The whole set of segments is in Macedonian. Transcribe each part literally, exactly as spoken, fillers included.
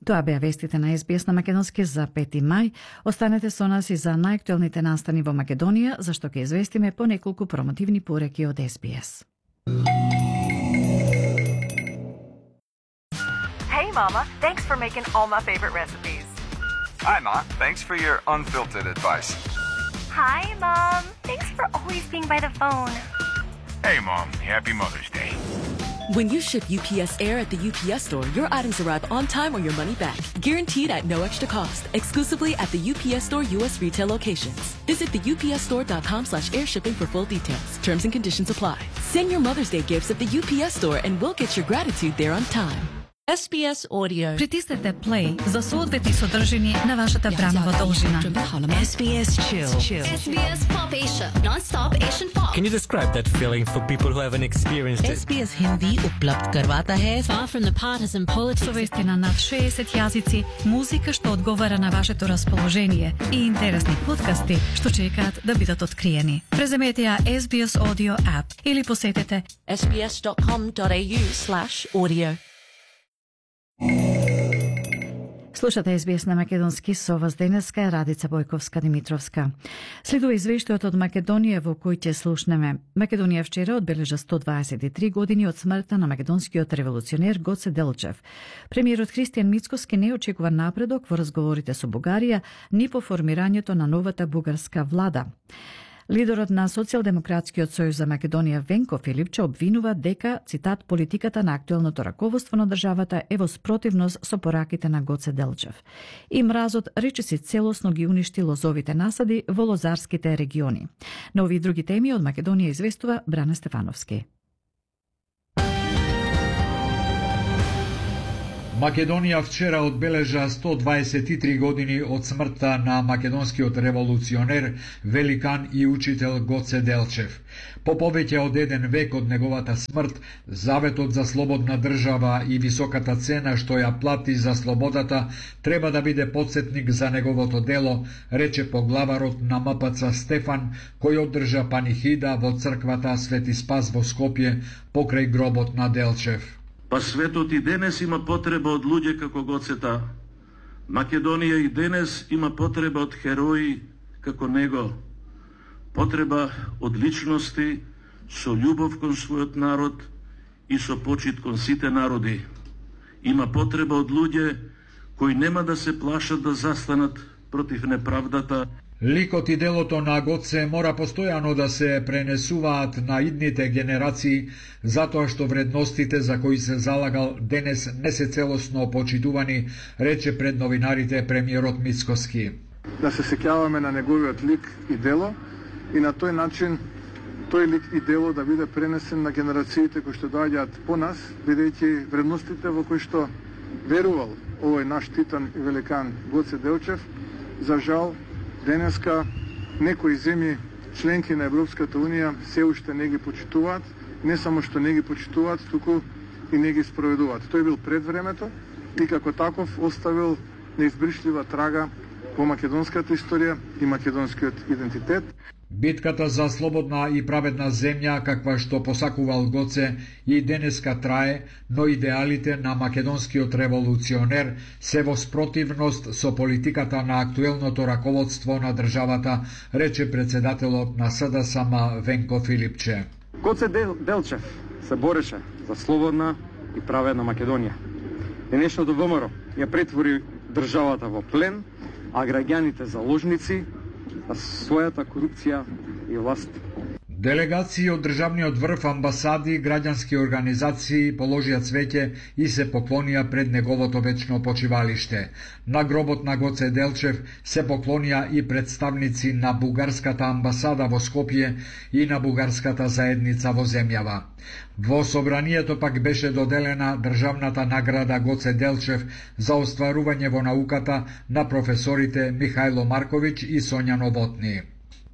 Тоа беа вестите на Ес Би Ес на македонски за пети мај. Останете со нас и за најактуелните настани во Македонија, зашто ќе известиме по неколку промотивни пореки од Ес Би Ес. Hey Mama, thanks for making all my favorite recipes. Hi Ma, thanks for your unfiltered advice. Hi Mom, thanks for always being by the phone. Hey Mom, happy Mother's Day. When you ship U P S Air at the U P S Store, your items arrive on time or your money back. Guaranteed at no extra cost. Exclusively at the U P S Store U S retail locations. Visit the U P S store dot com slash air shipping for full details. Terms and conditions apply. Send your Mother's Day gifts at the U P S Store and we'll get your gratitude there on time. Ес Би Ес Audio. Притиснете play за соодветни содржини на вашата бранова должина. Ес Би Ес Chill. Ес Би Ес Pop Asia. Non-stop Asian pop. Can you describe that feeling for people who haven't experienced it? Ес Би Ес Hindi उपलब्ध करवाता है. Far from the partisan politics. Со вести на над шеесет јазици, музика што одговара на вашето расположение и интересни подкасти што чекаат да бидат откриени. Преземете ја Ес Би Ес Audio app или посетете ес би ес dot com dot a u slash audio. Слушате Ес Би Ес на македонски со вас денеска е Радица Бојковска-Димитровска. Следува извештајот од Македонија во кој ќе слушнеме. Македонија вчера одбележа сто дваесет и три години од смртта на македонскиот револуционер Гоце Делчев. Премиерот Христијан Мицкоски не очекува напредок во разговорите со Бугарија ни по формирањето на новата бугарска влада. Лидерот на Социјалдемократскиот сојуз за Македонија Венко Филипче обвинува дека, цитат, политиката на актуелното раководство на државата е во спротивност со пораките на Гоце Делчев. И мразот речиси целосно ги уништи лозовите насади во лозарските региони. На овие други теми од Македонија известува Бране Стефановски. Македонија вчера одбележа сто дваесет и три години од смртта на македонскиот револуционер, великан и учител Гоце Делчев. По повеќе од еден век од неговата смрт, заветот за слободна држава и високата цена што ја плати за слободата треба да биде потсетник за неговото дело, рече поглаварот на М П Ц Стефан, кој одржа панихида во црквата Свети Спас во Скопје покрај гробот на Делчев. Па светот и денес има потреба од луѓе како Гоцета. Македонија и денес има потреба од херои како него. Потреба од личности со љубов кон својот народ и со почит кон сите народи. Има потреба од луѓе кои нема да се плашат да застанат против неправдата. Ликот и делото на Гоце мора постојано да се пренесуваат на идните генерации, затоа што вредностите за кои се залагал денес не се целосно почитувани, рече пред новинарите премиерот Мицкоски. Да се сеќаваме на неговиот лик и дело и на тој начин тој лик и дело да биде пренесен на генерациите кои што доаѓаат по нас, бидејќи вредностите во кои што верувал овој наш титан и великан Гоце Делчев, за жал денеска некои земји членки на Европската Унија се уште не ги почитуваат, не само што не ги почитуваат, туку и не ги спроведуваат. Тој бил пред времето и како таков оставил неизбришлива трага во македонската историја и македонскиот идентитет. Битката за слободна и праведна земја, каква што посакувал Гоце, и денеска трае, но идеалите на македонскиот револуционер се во спротивност со политиката на актуелното раководство на државата, рече председателот на С Д С М Венко Филипче. Гоце Дел, Делчев се бореше за слободна и праведна Македонија. Денешното Вэ М Р ја претвори државата во плен, а граѓаните заложници на својата корупција и власт. Делегации од државниот врв, амбасади, граѓански организации положија цвеќе и се поклонија пред неговото вечно почивалиште. На гробот на Гоце Делчев се поклонија и представници на бугарската амбасада во Скопје и на бугарската заедница во земјава. Во собранието пак беше доделена државната награда Гоце Делчев за остварување во науката на професорите Михајло Марковиќ и Сонја Новотни.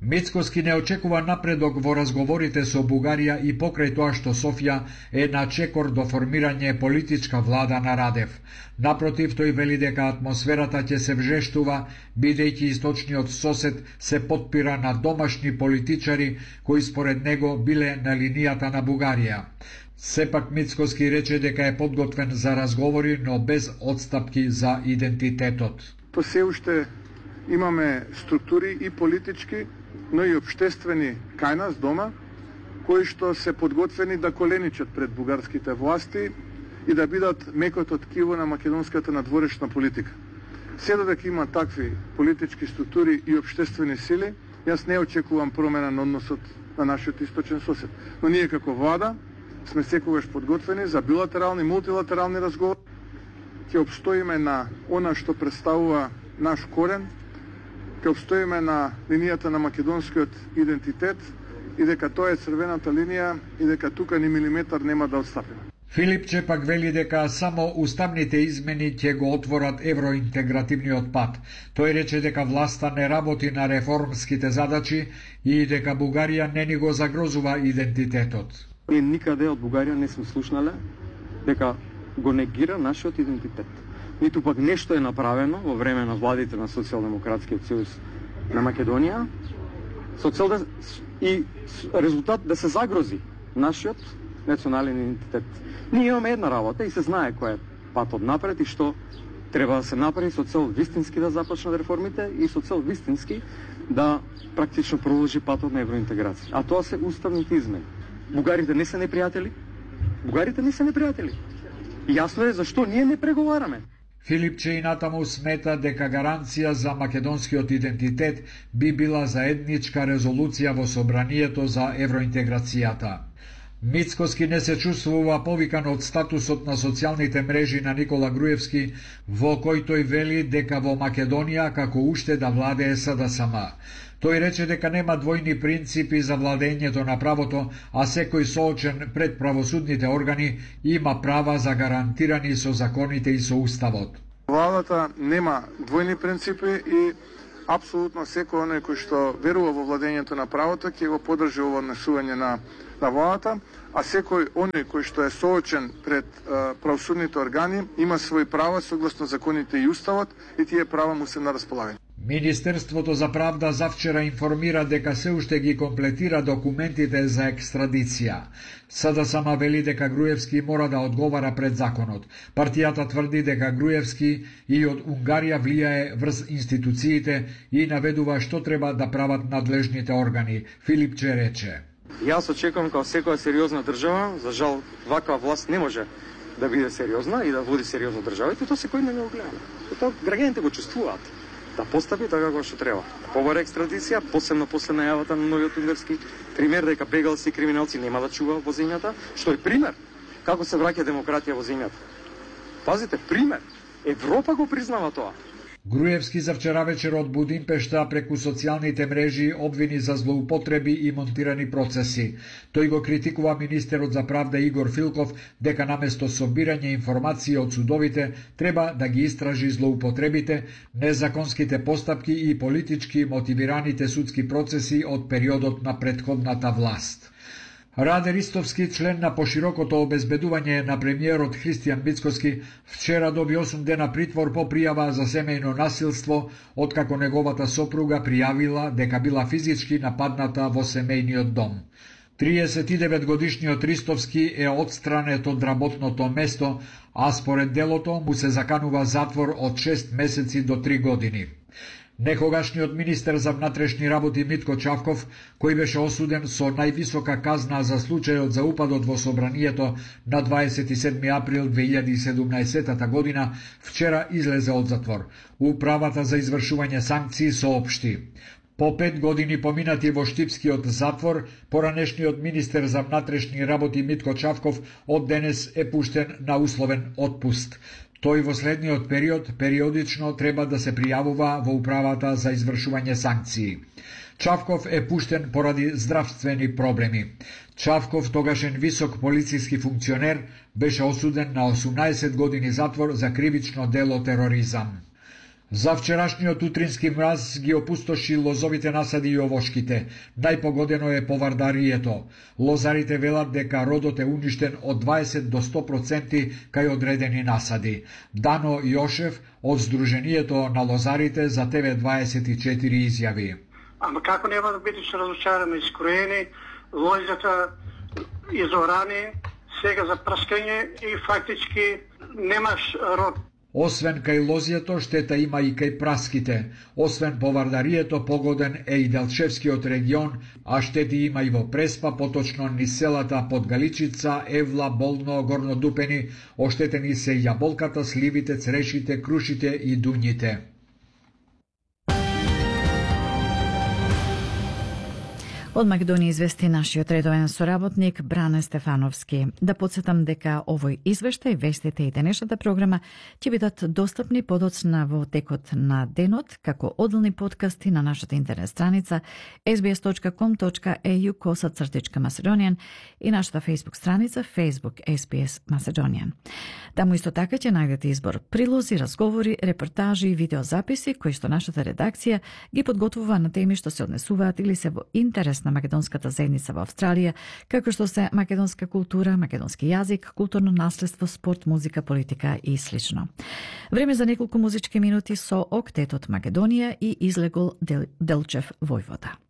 Мицкоски не очекува напредок во разговорите со Бугарија и покрај тоа што Софија е на чекор до формирање политичка влада на Радев. Напротив, тој вели дека атмосферата ќе се вжештува, бидејќи источниот сосед се потпира на домашни политичари кои според него биле на линијата на Бугарија. Сепак Мицкоски рече дека е подготвен за разговори, но без отстапки за идентитетот. По се уште имаме структури и политички, но и обштествени кај нас дома, кои што се подготвени да коленичат пред бугарските власти и да бидат мекото ткиво на македонската надворешна политика. Се додека има такви политички структури и обштествени сили, јас не очекувам промена на односот на нашиот источен сосед. Но ние како влада сме секогаш подготвени за билатерални, мултилатерални разговори. Ќе обстоиме на она што представува наш корен, ќе обстоиме на линијата на македонскиот идентитет и дека тоа е црвената линија и дека тука ни милиметар нема да отстапиме. Филипче пак вели дека само уставните измени ќе го отворат евроинтегративниот пат. Тој рече дека власта не работи на реформските задачи и дека Бугарија не ни го загрозува идентитетот. Ние никаде од Бугарија не сме слушнале дека го негира нашиот идентитет. Ниту пак нешто е направено во време на владите на Социјалдемократскиот сојуз на Македонија со цел да и резултат да се загрози нашиот национален идентитет. Ние имаме една работа и се знае кој е патот напред и што треба да се направи со цел вистински да започнат реформите и со цел вистински да практично продолжи патот на евроинтеграција. А тоа се уставните измени. Бугарите не се непријатели. Бугарите не се непријатели. И јасно е зашто ние не преговараме. Филипче и натаму смета дека гаранција за македонскиот идентитет би била заедничка резолуција во собранието за евроинтеграцијата. Мицкоски не се чувствува повикан од статусот на социјалните мрежи на Никола Груевски, во кој тој вели дека во Македонија како уште да владее СДСМ. Тој рече дека нема двојни принципи за владењето на правото, а секој соочен пред правосудните органи има права загарантирани со законите и со уставот. Владата нема двојни принципи и апсолутно секој оној кој што верува во владењето на правото ќе го поддржи ово однесување на на владата, а секој оној кој што е соочен пред а, правосудните органи има своји права согласно законите и уставот и тие права му се на располагање. Министерството за правда завчера информира дека се уште ги комплетира документите за екстрадиција. СДСМ вели дека Груевски мора да одговара пред законот. Партијата тврди дека Груевски и од Унгарија влијае врз институциите и наведува што треба да прават надлежните органи. Филипче рече: Јас очекувам како секоја сериозна држава, за жал ваква власт не може да биде сериозна и да води сериозно државите, тоа секој не го гледа. Тоа граѓаните го чувствуваат. Да постапи така како што треба. Побара екстрадиција, посебно после најавата на новиот унгарски пример дека бегалци и криминалци нема да чуваат во земјата, што е пример како се враќа демократија во земјата. Пазите, пример. Европа го признава тоа. Груевски за вчера вечер од Будимпешта преку социјалните мрежи обвини за злоупотреби и монтирани процеси. Тој го критикува министерот за правда Игор Филков дека наместо собирање информации од судовите треба да ги истражи злоупотребите, незаконските постапки и политички мотивираните судски процеси од периодот на претходната власт. Раде Ристовски, член на поширокото обезбедување на премиерот Христијан Мицкоски, вчера доби осум дена притвор по пријава за семејно насилство, откако неговата сопруга пријавила дека била физички нападната во семејниот дом. триесет и девет годишниот Ристовски е отстранет од работното место, а според делото му се заканува затвор од шест месеци до три години. Некогашниот министер за внатрешни работи Митко Чавков, кој беше осуден со највисока казна за случајот за упадот во собранието на дваесет и седми април две илјади и седумнаесета година, вчера излезе од затвор. Управата за извршување санкции соопшти: по пет години поминати во Штипскиот затвор, поранешниот министер за внатрешни работи Митко Чавков од денес е пуштен на условен отпуст. Тој во следниот период периодично треба да се пријавува во управата за извршување санкции. Чавков е пуштен поради здравствени проблеми. Чавков, тогашен висок полициски функционер, беше осуден на осумнаесет години затвор за кривично дело тероризам. За вчерашниот утрински мраз ги опустоши лозовите насади и овошките. Најпогодено е повардарието. Лозарите велат дека родот е уништен од дваесет до сто проценти кај одредени насади. Дано Јошев од Сдруженијето на лозарите за Т В дваесет и четири изјави: Ама како нема да бидеш разочарани, искроени, лозата изорани, сега за прскање и фактички немаш рок. Освен кај лозјето, штета има и кај праските. Освен повардарието, погоден е и Делчевскиот регион, а штети има и во Преспа, поточно низ селата Подгаличица, Евла, Болно, Горнодупени, оштетени се јаболката, сливите, црешите, крушите и дуњите. Од Македонија извести нашиот редовен соработник Бране Стефановски. Да подсетам дека овој извештај, вестите и денешната програма ќе бидат достапни подоцна во текот на денот како одделни подкасти на нашата интернет страница ес би ес точка ком точка е ю коса цртичка Macedonian и нашата Facebook страница Facebook ес би ес Macedonian. Таму исто така ќе најдете избор прилози, разговори, репортажи и видеозаписи кои што нашата редакција ги подготвува на теми што се однесуваат или се во интерес на македонската заедница во Австралија, како што се македонска култура, македонски јазик, културно наследство, спорт, музика, политика и слично. Време за неколку музички минути со Октетот Македонија и Излегол Дел, Делчев Војвода.